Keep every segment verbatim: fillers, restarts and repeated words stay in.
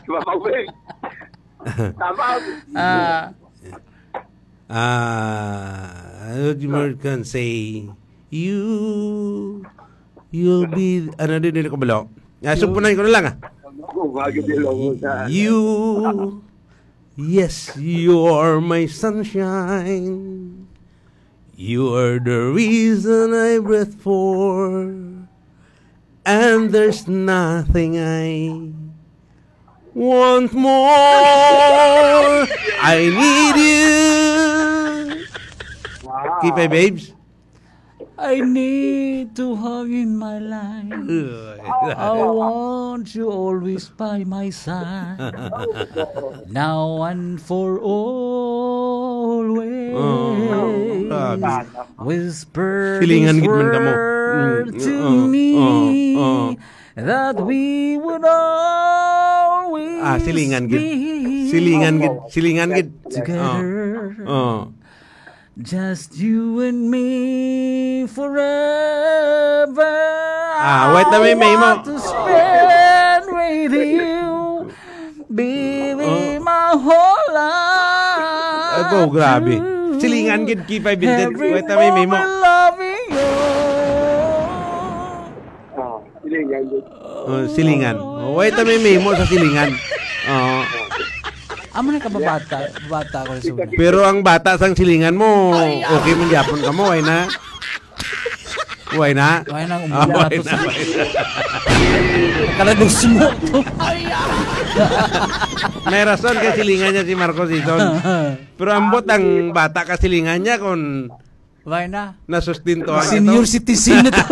Mama Wing. Tama. Ah, Ah, ano di mo can say, you, you'll be, ano din, hindi ko balo. Ah, sumpunan ko na lang, ah. Ako, bagay din lang mo sa You, yes, you are my sunshine. You are the reason I breathe for. And there's nothing I want more. I need you. Wow. K five babes. I need to have in my life. Ugh. I want you always by my side. Now and for always. Oh, grabe. Whisper Silingan this gid man kamo. Word Mm, to oh, me oh, oh. That we would always Ah, silingan gid. be Silingan gid. Silingan gid. Together. Oh. Oh. Just you and me forever. Ah, wait na, may, may mo. I want to spend with you, baby, Oh. my whole life. Ay, po, grabe. Silingan gid, K five Vincent. Every Wait na, may, may mo. moment loving you. Oh, silingan yun. Oh, silingan. Oh, wait, may memo sa silingan. Oo. Amo na kababata, bata ko sa una. Pero ang bata sang silingan mo, okay man gyapon ka mo, why na? Why na? Why na, Ah, why na? Kaladus mo. May rason kay silingan niya si Marcos Ison. Pero ambot ang bata ka silingan niya kung Why na? Nasustintuhan Senior ito. citizen na to.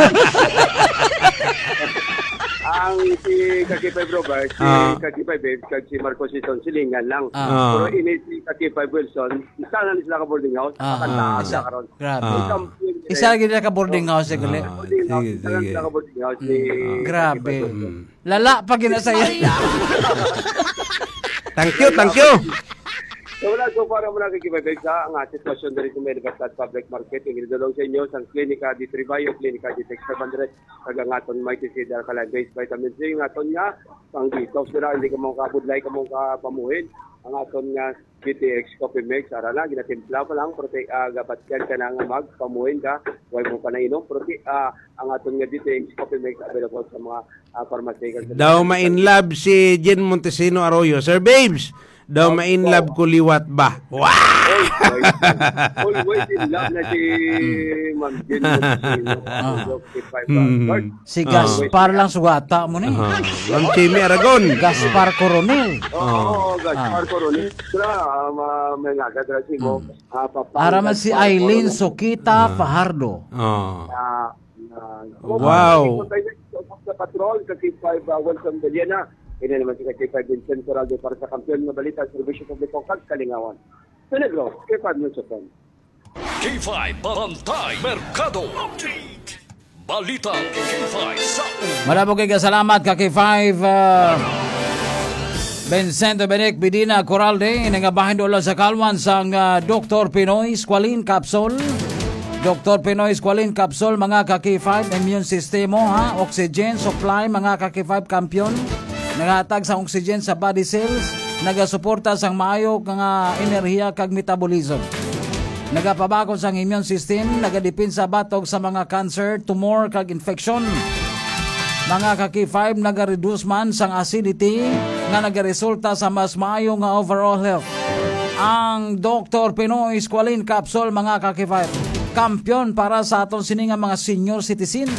Ang si Kakipay Bro ba, si Ah. Kakipay Babes, kag si Marcos Ison, silingan lang. Ah. Ah. Pero ini si Kakipay Wilson, isa na sila ka boarding house, Ah, pakanta ah. sila karon. Grabe. Ah. Isa gid ka boarding house, eh, gali. Ah, Boarding house, sige, isa na sige. sila ka boarding house, ni Mm. Grabe. Kakipay Wilson. Mm. Lala pa gina sa iya. Thank you, thank you. So, wala, so far, wala kay Kibay Beg sa nga sitwasyon diri sa may Libertad Public Market. Ang gidulong sa inyo sang Klinika D three Bio, Klinika D T X five hundred, kag ang aton Mighty Seed Alkaline Base Vitamin C, ang aton nga pang detox nila, hindi ka mo kabudlay, ka mo kapamuhin. Ang aton nga D T X Coffee Mix, ara na, ginatimpla pa lang, prote, ah, gabatyan ka na nga magpamuhin ka, way mo pa nainom, prote, ah, ang aton nga D T X Coffee Mix available sa mga ah, pharmaceutical. Daw ma-in love si Jen Montesino Arroyo. Sir Babes, daw Oh, ma-in oh. love ko liwat ba? Wow! Oy, oy. Always in love na si Ma'am Jen Montesino. Ah. Fifty-five Hmm. hours. Si Ah. Gaspar lang sugata mo ni. Ah. Ma'am Chemi Aragon. Gaspar Coronel. Oo, Ah. oo, Gaspar Ah. Coronel. Sila, ah, ma-, may nga, kadrasi mo. Hmm. Ah, Papa, Para man si Gaspar Eileen Coronel. Sokita Ah. Fajardo. Ah. Ah, Ah, Wow. Sa patrol, sa K five, ah, Wilson Villena. Ini naman si K five Vincent Coraldo para sa Kampiyon nga Balita, Serbisyo Publiko, kag Kalingawan. Sa Negros, K five News F M. K five Bantay Merkado Update. Balita K five sa Malabog kay kasalamat ka K five, ah, Vincent Dominic Bidina Coralde, ini nga bahin dola sa kalwan sang, ah, Doktor Pinoy Squalene Capsule. Doktor Pinoy Squalene Capsule, mga ka K five, immune system mo, ha? Oxygen supply, mga ka K five, kampiyon. Naghatag sa oxygen sa body cells, nagasuporta sang maayo nga enerhiya kag metabolism. Nagapabakod sang immune system, nagadepensa batok sa mga cancer, tumor, kag infection. Mga ka K five, nagareduce man sang acidity nga nagaresulta sa mas maayo nga overall health. Ang Doktor Pinoy Squalene Capsule, mga ka K five, kampiyon para sa aton sini nga mga senior citizens.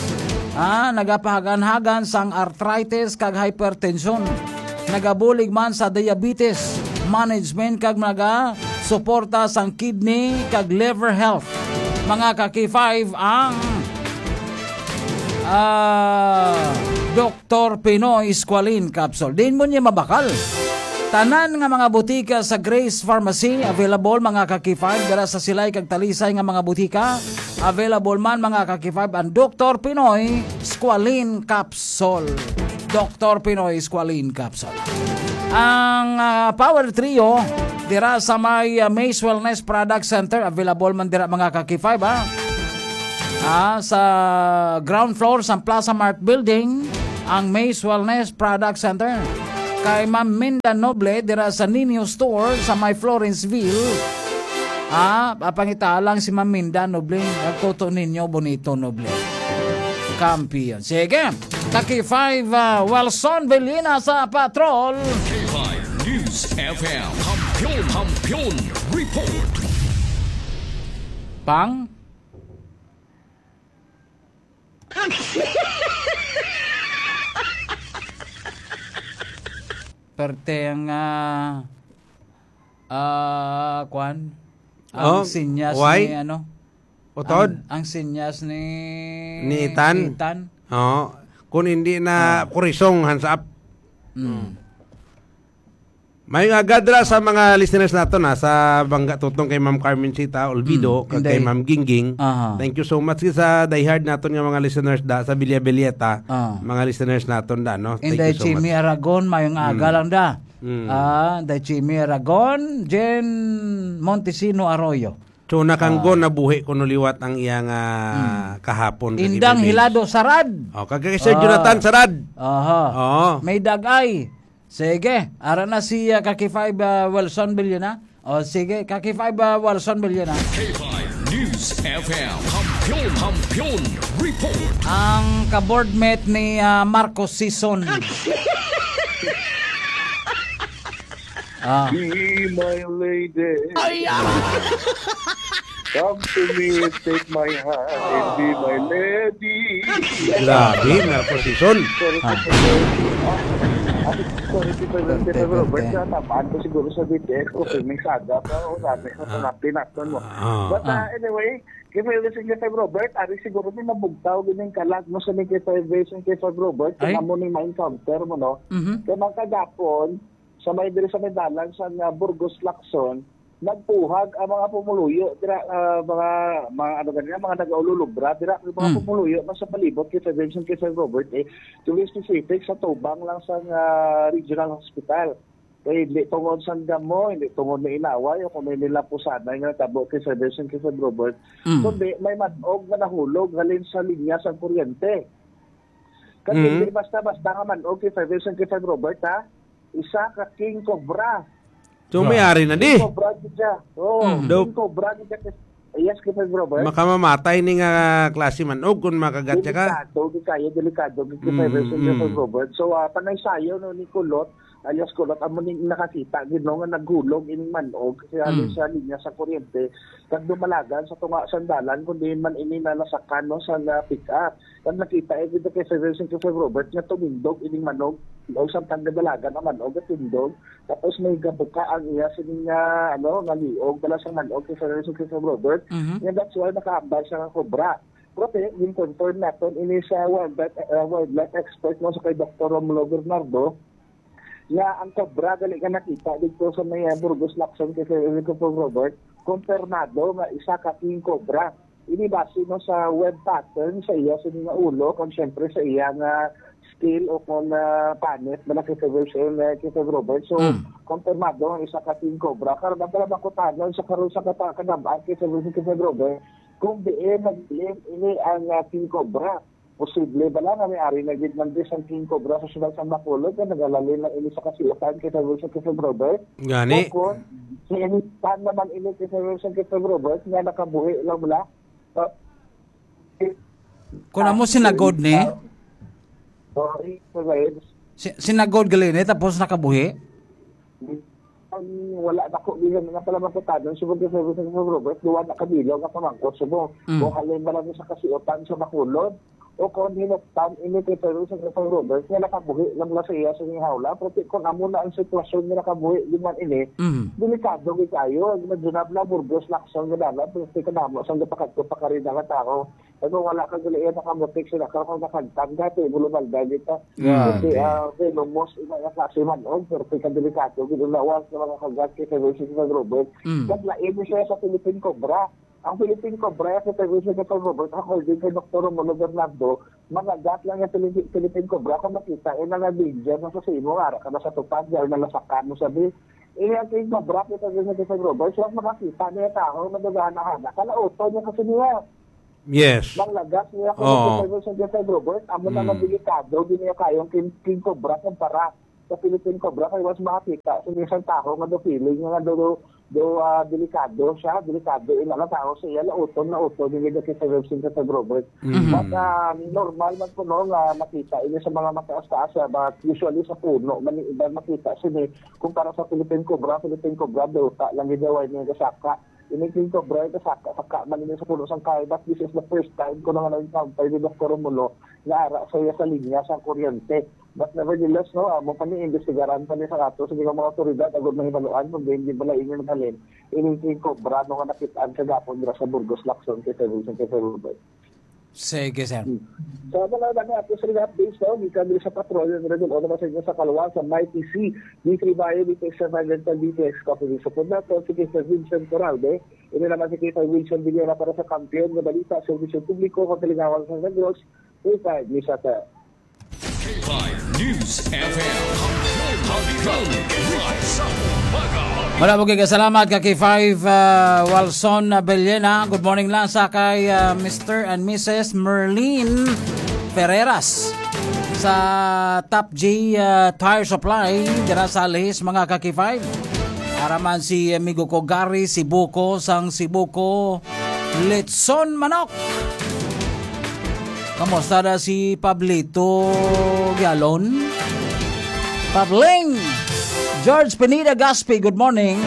Ah, nagapahagan-hagan sang arthritis kag hypertension. Nagabulig man sa diabetes management kag nagasuporta sang kidney kag liver health. Mga ka K five, ang, ah, Doktor Pinoy Squalene Capsule. Din mo niya mabakal. Tanan nga mga butika sa Grace Pharmacy available, mga ka K five, dira sa Silay kag Talisay nga mga butika. Available man, mga ka K five, ang Doktor Pinoy Squalene Capsule. Doktor Pinoy Squalene Capsule. Ang, ah, Power Trio dira sa may, ah, Maze Wellness Product Center, available man dira, mga ka K five, ha. Ah, sa ground floor sa Plaza Mart Building, ang Maze Wellness Product Center. kay Ma'am Minda Noble dira sa Ninyo Store sa may Florenceville. Ah, papangita lang si Ma'am Minda Noble. Nagtuto ninyo bonito, Noble. Kampiyon. Sige. Taki five, ah, Wilson Bellina sa Patrol. K five News F M. Kampiyon, Kampiyon Report. Pang? Perte ang, ah, ah, kwan? Ang Oh, sinyas why? ni, ano? Utod? Ang, ang sinyas ni Ni Ethan? Ethan. Oo. Kung hindi na Ah. kurisong, hands up. Mm. May nga gadra sa mga listeners nato na sa bangga tutong kay Ma'am Carmencita Olvido, Mm, kag kay inday. Ma'am Gingging. Aha. Thank you so much sa diehard naton nga mga listeners da sa Villa Villeta. Ah. Mga listeners naton da, no? Thank Inday you so Chimi much. Aragon, mayong aga Mm. lang da. Mm. Ah, Inday Chimi Aragon, Jen Montesino Arroyo. So, nakanggo Ah. nabuhi kuno liwat ang iyang, ah, Mm. kahapon kag Indang Ibibis. Hilado Sarad. Oh, kag kay Sir Ah. Jonathan Sarad. Aha. Oo. May dagay. Sige, ara na si, ah, Kaki Five, ah, Wilson Billona. O, sige, Kaki Five, ah, Wilson Billona. K five News F M. Kampiyon, Kampiyon Report. Ang ka-boardmate ni, ah, Marcos Sison. Ah. Be my lady. Ay, ah! Come to me, take my hand, and be my lady. Grabe, Marcos Sison. Sorry, Ah. sorry, sorry. Ah, sorry, sorry, sorry, sorry, Pwerte, sorry, Robert, pwerte. Sa tamaan ko siguro sa B T S ko, kung may saga pa, o sabi ko, Ah. sa napinakon mo. Ah. But, uh, Ah. anyway, kay Favorite Singer kay Robert, ari siguro ni nabugtaw, gining kalag mo sa ni kay Favorite Singer kay Robert, Ay. kung amo ni ma-encounter mo, no? Mhm. Kay mga kagapon, sa may diri sa may dalan sa nga Burgos Lacson, nagpuhag ang mga pumuluyo dira, ah, mga, mga ano ganina, mga nagaululubra dira, ang mga Mm. pumuluyo na sa palibot kay Favorite Singer kay Robert, eh, to be specific, sa tubang lang sa nga regional hospital. Kay hindi tungod sa damo, hindi tungod na inaway o kung may nila pusanay nga tabo kay Favorite Singer kay Robert, Mm. kundi may manog nga nahulog halin sa linya sa kuryente. Kasi Mm. hindi basta-basta nga manog kay Favorite Singer kay Robert, ha? Isa ka king cobra. So, may Grabe. ari na di. King cobra gid siya. Oo, Mm. king Dope. cobra gid siya. Yes, kay Favorite Robert. Makamamatay ni nga klase manog kung makagat siya ka. Delikado gid kayo, delikado gid kay Mm, Favorite Singer kay mm. Robert. So, ah, panay sayo, no, ni Kulot, alias Kulot, amo ni nakakita gid, no, nga naghulog ining manog sa, Mm. sa linya sa kuryente. Kag dumalagan sa tunga sa dalan, kundi man ini na nasakan, no, sa, ah, pick-up. Kag nakita, eh, kita kay Favorite Singer kay Robert nga tumindog ining manog, o samtang nadalagan ang manog at tindog. Tapos may gabuka ang iya sining nga, ano, nga liog, dala sa manog kay Favorite Singer kay Robert. Mhm. Nga that's why nakaambal siya nga kobra. Pero te, gin-confirm naton ini sa wildlife, uh, wildlife expert mo sa kay Doktor Romulo Bernardo, nga ang kobra gali nga nakita dito sa may, uh, Burgos Lacson kay Favorite Singer kay Robert, kumpirmado nga isa ka king cobra. Ini base, no, sa web pattern sa iya sa mga ulo, kung siyempre sa iya nga skill o kung, ah, panit, malaki sa version, ah, kay Sir Robert. So, Mm. kumpirmado ang isa ka king cobra. Karon, ang pala makutanon sa karon sa kata-, kanabaan kay Sir Robert, kay Sir Robert, kung diin nagdiin ini ang, ah, king cobra. Posible bala nga may ari na gid man di sang king cobra sa siyudad sa Bacolod nga nagalalim na ini sa kasiutan kay Sir Wilson, kay Sir Robert? Gani. O kung si Initan naman ini kay Sir Wilson, kay Sir Robert nga nakabuhi lang bala? Uh, Kung amo sinagod ni? Sorry, Sir Reds. Si-, sinagod gali ni, tapos nakabuhi? Ang wala na ko bilang nga pala makutanon, subong kay Sir Robert, duwa na ka bilog nga pamangkot, subong. Mm. Kung halin ba lang sa kasiutan sa Bacolod, o kung hinuktan ini kay Sir Robert, nga nakabuhi lang na sa iya sa ining hawla, pero kung amo na ang sitwasyon nga nakabuhi, di man ini, Mm. delikado gid kayo. Imagine na, Burgos, Lacson, nga dalan, pero sa kanamo, sa gapakadto pa karina nga tao, Ano, wala ka gali iya nakamutik sila, ka kung nakagtang dati, bulubalda kita. Grabe. Kasi, ah, venomous, iba nga klase manog, pero kay kadelikado, gid ang lawas sa mga kagat kay Sir Wilson, Sir Robert. Mm. Naglain mo siya sa Philippine Cobra. Ang Philippine Cobra, sa Sir Wilson, Sir Robert, according kay Doktor Romulo Bernardo, mangagat lang yung Philippi-, Philippine Cobra, kung makita, eh, nangabidya na sa simo, ara ka na sa tupad, dahil nalasakan mo sabi. Eh, ang King Cobra, kita din sa Sir Robert, so, makakita niya tao, madagana-hana, kalauto niya kasi niya. Yes. Nang lagas niya kung Oo. Sa Sir Robert, amo na Mm. nga delikado, di niya kayong King, King Cobra kumpara. sa Philippine Cobra, kay mas makakita sa isang tawo nga do feeling nga do, do, do, ah, delikado siya, delikado ina nga tawo sa iya, lauton, lauton, yung medyo kay Sir Robert. Mhm. But, ah, normal man po, no, nga makita ini sa mga mataas-taas, ah, but usually sa puno man yung iba makita sini. Kung para sa Philippine Cobra, Philippine Cobra, do ta lang gid, way niya gasaka. Ini King Cobra, ito saka, saka man ini sa puno sang kahoy, but this is the first time ko na nga na-encounter ni Doktor Romulo nga ara sa iya sa linya sang kuryente. But nevertheless, no, amo pa ni, imbestigaran pa ni sa ato sa mga otoridad agud mahibaluan kung diin gid bala ini naghalin. Ini King Cobra, no, nga nakit-an kagapon dira sa Burgos, Lacson, kay Sir Wilson, kay Sir Robert. Sige, sir. Hmm. So, amo lang ang ato sa mga updates, no? Gikan diri sa Patrol, yung Red Bull, ano ba sa inyo sa Kalwa, sa Mighty C, D three Bayan, D T X seven hundred, D T X Coffee, sa Pundatan, sige, sa Vincent Corralde, ini naman si Kita Wilson Villera para sa Kampiyon nga Balita, Serbisyo Publiko, Hotel Lingawan sa Negros, full time, ni sa, sir. K five News F M. Wala mo kay kasalamat ka kay five, ah, Walson Abellena. Good morning lang sa kay, ah, Mister and Missus Merlin Ferreras sa Top G, ah, Tire Supply dira sa Alihis, mga ka-K five. Araman si amigo ko Gary Sibuko sang Sibuko Litson Manok. Kamusta na si Pablito Gialon? Pabling! George Pineda Gaspi, good morning.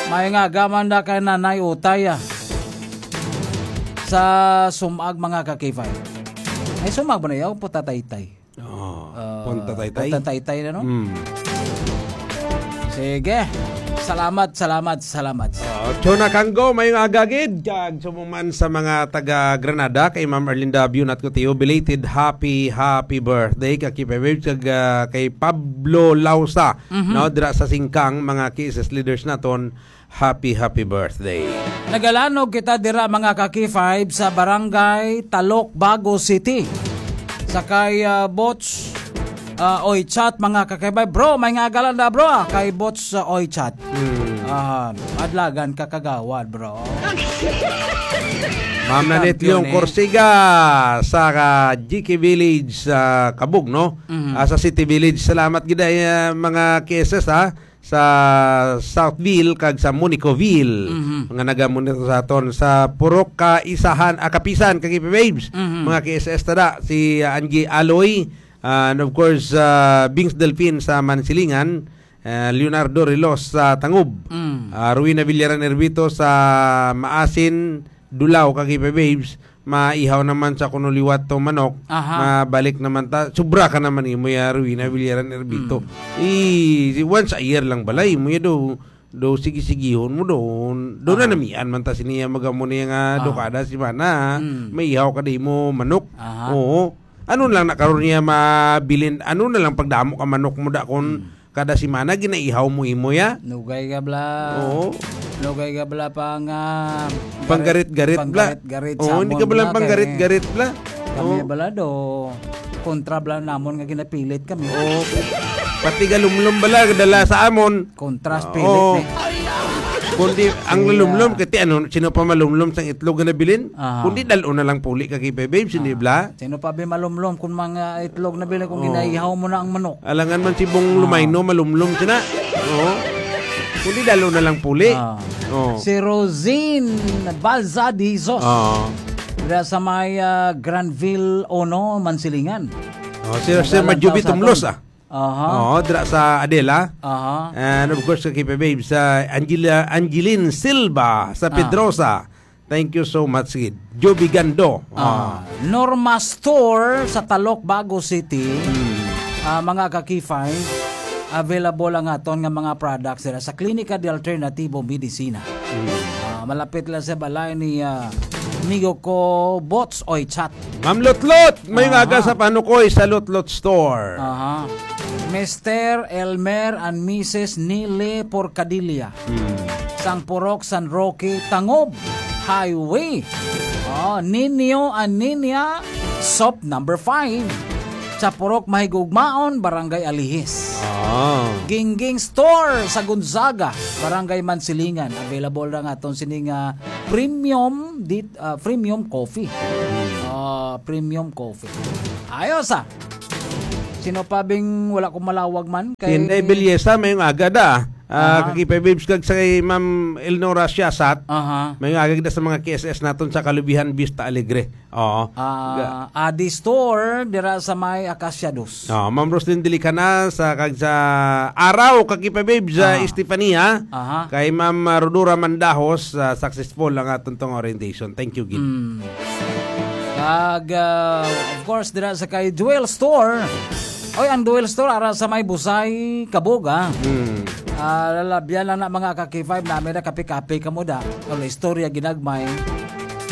May nga gaman na kay Nanay Utay, ah. Sa sumag, mga ka-K five. Ay, sumag ba na yaw? Putataytay. Oh, Ah, punta taytay. Punta taytay na, no? Mm. Sige. Salamat, salamat, salamat. Oh, Chona Kanggo, may nga agagid. Kag sumuman sa mga taga Granada, kay Ma'am Erlinda Biunat Gutio, belated happy, happy birthday. Kag Kipe Waves, kag, ah, kay Pablo Lausa, Mhm. no, dira sa Singkang, mga K S S leaders naton. Happy, happy birthday. Nagalanog kita dira, mga ka-K five, sa Barangay Talok, Bago City. Sa kay, ah, Bots, ah, Oy Chat, mga ka-K five. Bro, may nga agalan na, bro, ah, kay Bots, ah, Oy Chat. Hmm. Ah, adlagan ka kagawad, bro. Ma'am Nanit Leon Corsiga sa, ah, G K Village sa Kabug, no? Mhm. Ah, sa City Village. Salamat gid ay, ah, mga K S S, ha. Sa Southville kag sa Monicoville, Mhm. nga nagamonitor sa aton sa Purok Kaisahan, ah, Kapisan, kag Waves. Mhm. Mga K S S tada, si, ah, Angie Aloy, ah, and of course, ah, Bings Delfin sa Mansilingan, ah, Leonardo Rilos sa Tangub, Mm. ah, Rowena Villaran Ervito sa Maasin, Dulao, kag Waves, maihaw naman sa kuno liwat to manok, Aha. mabalik naman ta, sobra ka naman imo ya, Rowena Villaran Erbito. Mm. I, once a year lang balay mo ya do, do sige-sigihon mo doon. Do na Aha. namian man ta siniya magamo niya nga Ah. do kada semana, Mm. maihaw ka di mo manok. Aha. Oo. Ano lang na karon niya mabilin, ano na lang pagdamo ka manok mo da kon Mm. kada semana ginaihaw mo imo ya? Nugay ka bla. Oo. Nugay ka bla pa nga Panggarit-garit bla. Panggarit-garit Oo, hindi samon ka bla bla kay panggarit-garit bla. Kami Oo. bla do. Kontra bla namon nga ginapilit kami. Oo. Pati galumlom bala dala sa amon. Kontra sa Oo. pilit ni. Kundi ang Iya. lalumlom, kati ano, sino pa malumlom sang itlog nga nabilin? Ah. Kundi dal-o na lang puli ka kay Bebes, hindi Ah. bla? Sino pa ba malumlom kung mga itlog na bilin kung Oh. ginaihaw mo na ang manok? Alangan man si Bong Ah. Lumayno, malumlom sina. Oo. Kundi dalo na lang puli. Ah. Oh. Si Rosine Balza de Jesus. Oo. Dira sa may, ah, Granville Ono, Mansilingan. Oh, si Sir Nagalan Madjubi daw sa Tumlos, aton. ah. Aha. Oo, dira sa Adela. Aha. And of course, kay Kipe Babes, sa Angela, Angeline Silva sa Ah. Pedrosa. Thank you so much, gid. Joby Gando. Ah, Ah. Norma Store sa Talok, Bago City. Hmm. Ah, mga ka-K five, available ang aton nga mga products dira sa Klinika de Alternativo Medicina. Hmm. Ah, malapit lang sa balay ni, ah, amigo ko, Bots Oy Chat. Ma'am Lotlot, may Aha. aga sa Panukoy sa Lotlot Store. Aha. Mister Elmer and Missus Nile Porcadilla. Hmm. Sang Purok, San Roque, Tangob Highway. Oh, Ninyo and Ninya, shop number five. Sa Purok Mahigugmaon, Barangay Alihis. Ah. Gingging Store sa Gonzaga, Barangay Mansilingan. Available ra nga aton sini nga premium dit-, ah, premium coffee. Hmm. Ah, premium coffee. Ayos, ah. Sino pa bing wala ko malawag man? Kay Inday Belleza, mayong aga da. Ah, Aha. Kakipay Babes kag sa kay Ma'am Elnora Siasat. Aha. Mayong aga da sa mga K S S naton sa Kalubihan, Vista Alegre. Oo. Ah, Ga- Adi Store, dira sa may Acacia Dos. Oh, Ma'am Roslyn Dilicana sa kag sa Araw, Kakipay Babes, sa Aha. Estefania. Aha. Kay Ma'am, ah, Rodora Mandahos, ah, successful ang aton tong orientation. Thank you, Gid. Mm. Kag, ah, of course, dira sa kay Jewel Store. Oy, ang Jewel Store, ara sa may Busay, Kabuga. Mm. Ah, lalabyan lang na mga ka-K five na, may na kape-kape ka mo da. Wala istorya ginagmay.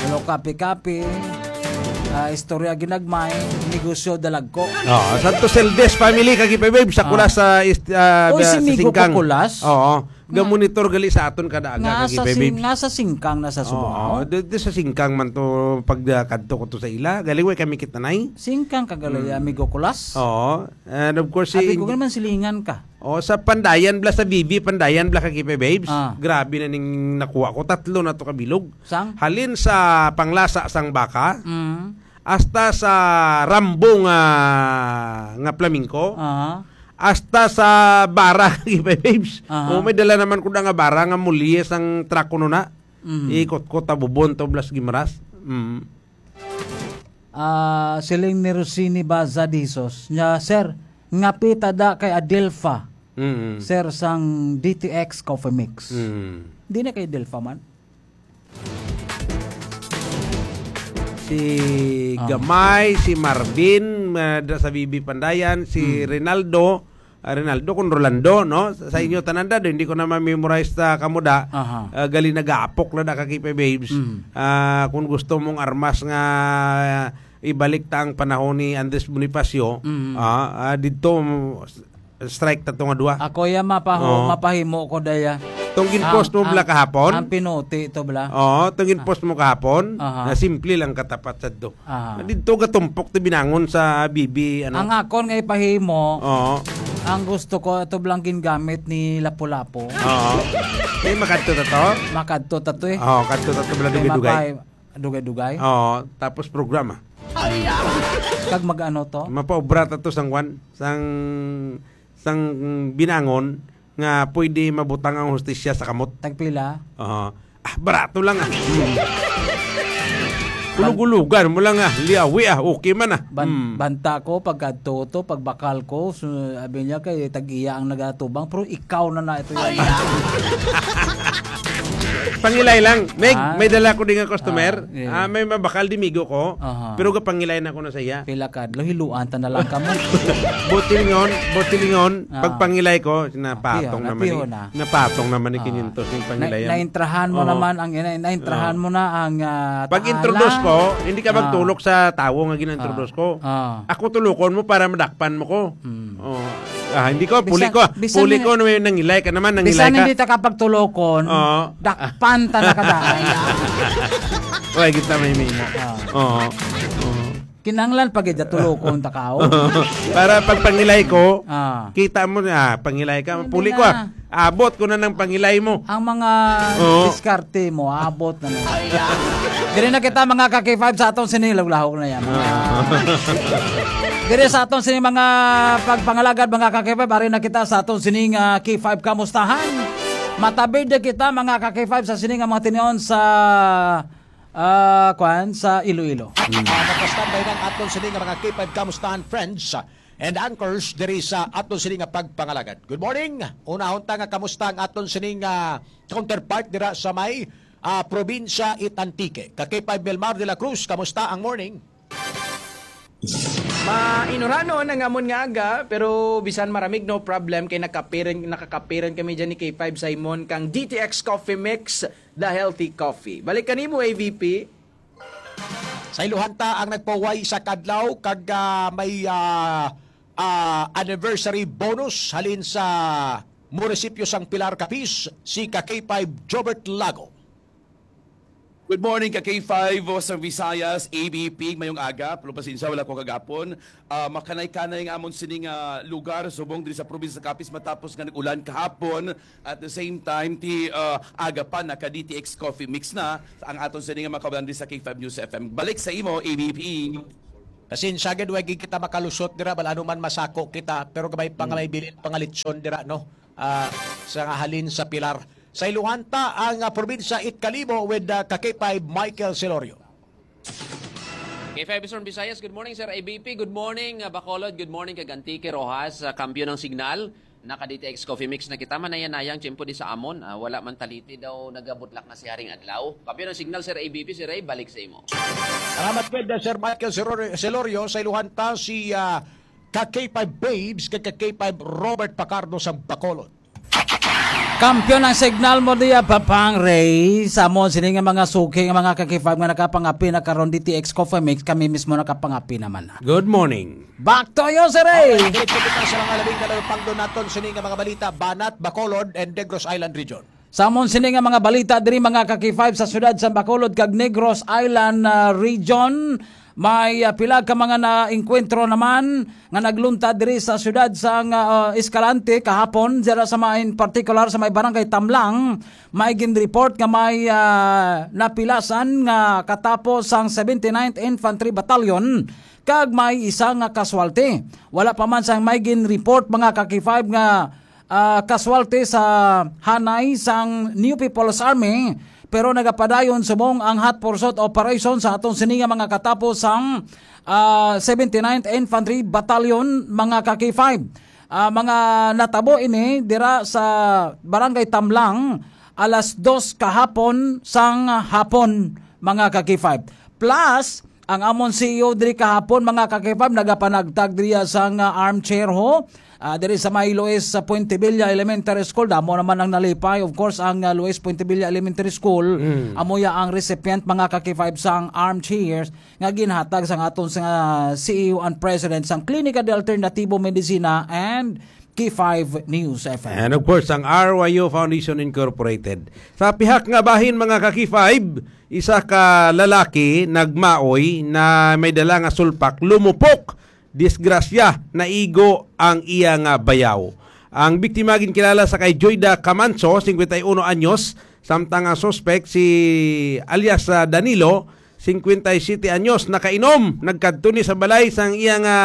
Wala kape-kape. Ah, istorya ginagmay. Negosyo dalagko. Oh, Santos Eldes family, Kakipay Babes, sa Ah. Kulas sa ist-, ah, Oy, ba-, si sa Migo Singkang. Kukulas? Oo. Nga Ga-monitor gali sa aton kada aga, nga sa Kakipay sing-, Babes. Nga sa Singkang na sa Subo. Oo, di, di sa Singkang man to pag, ah, kadto ko to sa ila. Galing way kami kitanay. Singkang ka gali, Mm. Amigo Kulas? Oo. And of course, si Abi ko Ing-, naman silingan ka. Oh, sa Pandayan bla, sa B B Pandayan bla, Kakipay Babes. Ah. Grabe na ning nakuha ko. Tatlo na to kabilog. Sang? Halin sa panglasa sang baka, Mm. hasta sa Rambo nga, nga flamingo, Aha. hasta sa bara, Kakipay Babes. Aha. Oh, may dala naman ko na nga bara nga mulye sang truck kuno na. Mm. Ikot ko tabubon to blas gimras. Mm. Ah, siling ni Rosini Baza Dizos, nya, "Sir, ngapita da kay Adelfa, Mm. sir, sang D T X Coffee Mix." Mm. Di na kay Adelfa man. Si Ah. Gamay, si Marvin, ah, da sa B B Pandayan, si Mm. Rinaldo, ah, Rinaldo, kung Rolando, no? Sa, sa inyo Mm. tanan, Dad, hindi ko na ma-memorize ta kamo da. Aha. Ah, gali nag-aapok na da, Kakipay Babes. Mm. Ah, kung gusto mong armas nga, ah, ibalik ta ang panahon ni Andres Bonifacio, Mm. ah, ah, didto, mm, strike ta to nga duha. Ako ya mapaho-, Oo. mapahimo ko daya. Tong ginpost Ang, mo bala ang, kahapon? ang pinuti to bala. Oo, tong ginpost mo kahapon, Aha. na simple lang katapat sa do. Aha. Didto gatumpok to binangon sa B B, ano? Ang akon nga ipahimo, Oo. ang gusto ko, ito blang gingamit ni Lapu-Lapu. Oo. Eh, makadto ta to? Makadto ta to eh. Oo, kadto ta to, bala Kay dugay-dugay. mapay-, dugay-dugay. Oo, tapos programa. Kag mag-ano to? Mapaobra ta to sang kwan, sang, sang binangon nga pwede mabutang ang hustisya sa kamot. Tagpila? Oo. Ah, barato lang, ah. Hmm. Ulog-ulugan mo lang, ah. Liawi, ah. Okay man, ah. Ban-, Hmm. banta ko, pagkadto to, pagbakal ko, su-, sabi niya kay tag-iya ang nagatubang, pero ikaw na na ito yan. Pangilay lang. May, Ah. may dala ko din nga customer. Ah, yeah. Ah, may mabakal di migo ko. Aha. Pero gapangilay na ko na sa iya. Pila ka adlaw, hiluan ta na lang kamo. Botilingon, botilingon, Ah. pagpangilay ko, napatong Piho na, naman piho ni, na. napatong naman ni Ah. kinyentos yung Na-, pangilay. naintrahan mo Oh. naman ang, na-, naintrahan Oh. mo na ang, ah, Pag-introduce taala. ko, hindi ka Ah. magtulok sa tawo nga gina-introduce Ah. ko. Ah. Ako tulukon mo para madakpan mo ko. Hmm. Oh. Ah, hindi ko, puli Bisan, ko. bisan Puli na, ko na may nangilay ka naman, nangilay bisan ka. hindi ta ka pagtulokon, Oo. dakpan ta na ka daan. Oy, kita may mimo. Ah. Oo. Oo. Kinanglan pa gid tulokon ta ka, oh. Para pag pangilay ko, Ah. kita mo na, ah, pangilay ka, Hindi puli ko, na. ah. Abot ko na ng pangilay mo. Ang mga Oo. diskarte mo, abot na na. Diri na kita, mga ka-K five, sa aton sini, lahog-lahog na yan. Ah. Diri sa aton sini, mga pagpangalagad, mga ka-K five, ari na kita sa aton sini nga K five Kamustahan. Matabid na kita, mga ka-K five, sa sini nga mga tinion sa, ah, kwan, sa Iloilo. Ah, nagpa-standby ng aton sini nga mga K five Kamustahan friends and anchors diri sa aton sini nga pagpangalagad. Good morning. Unahon ta nga kamusta ang aton sini nga counterpart dira sa may, ah, probinsya it Antique. Ka K five Melmar de la Cruz, kamusta ang morning? Mainuranon ang amon nga aga, pero bisan maramig, no problem, kay nakapiran, nakakapiran kami dyan ni K five Simon kang D T X Coffee Mix, the healthy coffee. Balik kanimo, A V P. Sa iluhan ta ang nagpahuway sa kadlaw kag, ah, may, ah, ah, anniversary bonus halin sa munisipyo sang Pilar, Capiz, si ka K five Jobert Lago. Good morning, ka K five, o sa Visayas, A B P, mayong aga, pero pasensya, wala ko kagapon. Ah, makanay-kanay nga amon sining, ah, lugar, subong diri sa probinsya sa Capiz, matapos nga nag-ulan kahapon. At the same time, ti, ah, aga pa, naka D T X Coffee Mix na ang aton sining nga mga kabayan diri sa K five News F M. Balik sa imo, A B P. Pasensya gid, wa gid kita makalusot dira, bal ano man masako kita, pero gamay pa nga may bilin pa nga lechon dira, no? Ah, sa nga halin sa Pilar. Sa Iluhanta, ang, ah, probinsya it kalibo with, ah, ka K five Michael Celorio. K five Eastern Visayas, good morning, Sir A B P. Good morning, ah, Bacolod. Good morning, kag Antique, Roxas. Ah, kampiyon ang signal. Naka D T X Coffee Mix na kita. Manaya-nayang tiyempo di sa amon. Ah, wala man taliti daw nagabutlak na si Haring Adlaw. Kampiyon ang signal, Sir A B P. Sir Ray, balik sa imo. Salamat gid, ah, Sir Michael Celor-, Celorio. Sa Iluhanta, si, ah, ka K five Babes, kag ka K five Robert Pacardo sa Bacolod. Kampiyon ang signal mo diya, Papang Ray. Sa amon, sini nga mga suki, nga mga ka K five nga nakapangapi na karon D T X Coffee Mix, kami mismo nakapangapi naman. Good morning. Back to you, Sir Ray. Alright, diretso kita sa mga labing na nalupangdo naton sini nga mga balita, Banat, Bacolod, and Negros Island Region. Sa amon sini nga mga balita diri, mga ka K five, sa siyudad sa Bacolod kag Negros Island, ah, Region, may, ah, pila ka mga naengkwentro naman nga nagluntad diri sa siyudad sang, ah, Escalante kahapon, dira sa may, in particular sa may barangay Tamlang, may ginreport nga may, ah, napilasan nga katapo sang seventy-ninth Infantry Battalion kag may isa nga casualty. Wala pa man sang may ginreport, mga ka K five, nga, ah, casualty sa hanay sang New People's Army, pero nagapadayon subong ang hot pursuit operation sa aton sini nga mga katapo sang, ah, seventy-ninth Infantry Battalion, mga ka K five. Ah, mga natabo ini dira sa Barangay Tamlang, alas dos kahapon sang hapon, mga ka K five. Plus, ang amon C E O diri kahapon, mga ka K five, nagapanagtag diriya sang, ah, armchair ho. Ah, diri sa may Luis, sa Puentevilla Elementary School, damo naman ang nalipay. Of course, ang, ah, Luis Puentevilla Elementary School, Mm. amo ya ang recipient, mga ka K five, sang armchairs nga ginhatag sang aton sa C E O and President sang Klinika de Alternativo Medicina and K five News F M. And of course, ang R Y U Foundation Incorporated. Sa pihak nga bahin, mga ka K five, isa ka lalaki nagmaoy na may dala nga sulpak, lumupok, disgrasya, naigo ang iya nga bayaw. Ang biktima ginkilala sa kay Joyda Camanso, singkwenta y uno anyos, samtang ang suspek si alias, ah, Danilo, singkwenta y siyete anyos, nakainom. Nagkadto ni sa balay sang iya nga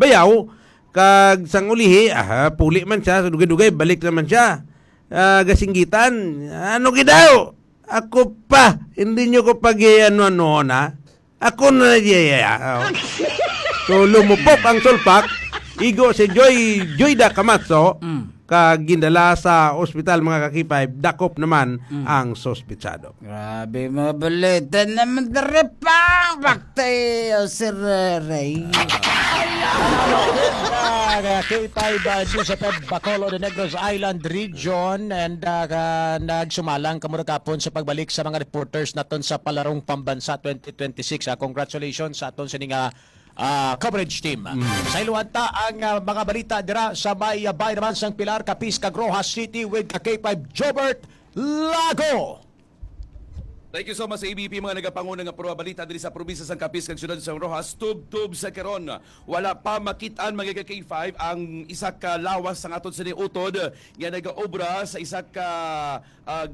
bayaw, kag sang ulihi, ah, puli man siya, dugay-dugay, balik naman siya. Ah, gasinggitan, "Ano gid daw? Ako pa, hindi nyo ko pag-ano-ano na. Ako na, yeah, yeah, yeah." Oh. So, lumupok ang sulpak, igo si Joy, Joyda Camacho, Mm. kag gindala sa ospital, mga ka K five, dakop naman Mm. ang suspetsado. Grabe, mga balita naman diri pa. Back to you, Sir Ray. Ah, K five, uh, News F M Bacolod, the Negros Island Region, and, uh, ka-, nagsumalang kamo ra kahapon sa pagbalik sa mga reporters naton sa Palarong Pambansa twenty twenty-six. Ah, congratulations sa aton sini nga, ah, coverage team. Mm. Sa iluhan ta ang, ah, mga balita dira sa may, ah, bayan naman sang Pilar, Capiz, kag Roxas City with ka K five Jobert Lago. Thank you so much sa A B P, mga nagapanguna nga pruha balita diri sa probinsya sang Capiz kag siyudad sang Roxas, tubtob sa karon. Wala pa makit-an, mga ka K five, ang isa ka lawas sang aton sini utod nga nagaobra sa isa ka, ah,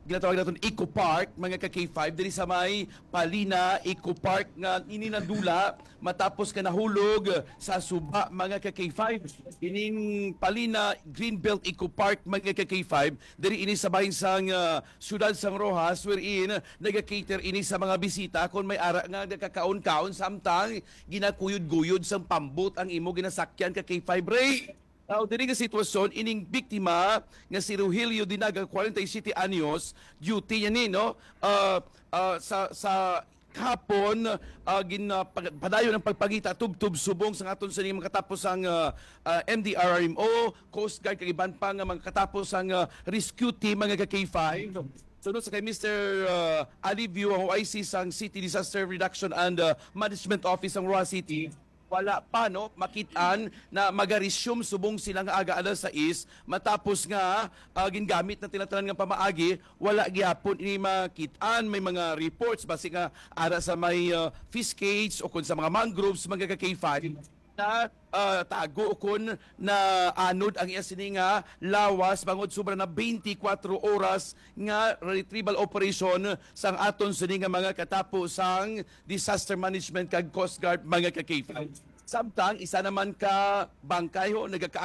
ginatawag naton Eco Park, mga ka K five, diri sa may Palina Eco Park nga ini nadula matapos nga nahulog sa suba, mga ka K five. Ining Palina Greenbelt Eco Park, mga ka K five, diri ini sa bahin sang, ah, siyudad sang Roxas, wherein nagakater ini sa mga bisita kon may ara nga nagakaon-kaon, samtang ginakuyod-guyod sang pambot ang imo ginasakyan, ka K five Ray. Now, diri nga sitwasyon, ining biktima nga si Rogelio Dinaga, kwarenta y siyete anyos, duty niya ni, no? Ah, ah, sa, sa kahapon, ah, gin-, ah, pag-, padayon ang pagpangita tubtob subong sa aton sa mga katapos ang, ah, ah, M D R R M O, Coast Guard, kag iban pa nga mga katapos ang, ah, rescue team, mga ka K five. Sunod sa kay Mister, ah, Alivio, ang O I C sang City Disaster Reduction and, ah, Management Office sang Roxas City, wala pa, no, makit-an na magaresume subong sila nga aga alas sais, matapos nga, ah, gingamit na tinatanan nga pamaagi, wala gihapon ini makit-an. May mga reports basi nga ara sa may, ah, fish cage o kun sa mga mangroves, mga ka K five, na ah, tago kon na anod ang iya sini nga lawas bangod sobra na twenty-four oras nga retrieval operation sang aton sini nga mga katapo sang disaster management kag Coast Guard, mga ka-K five. Samtang isa naman ka bangkay ho nagaka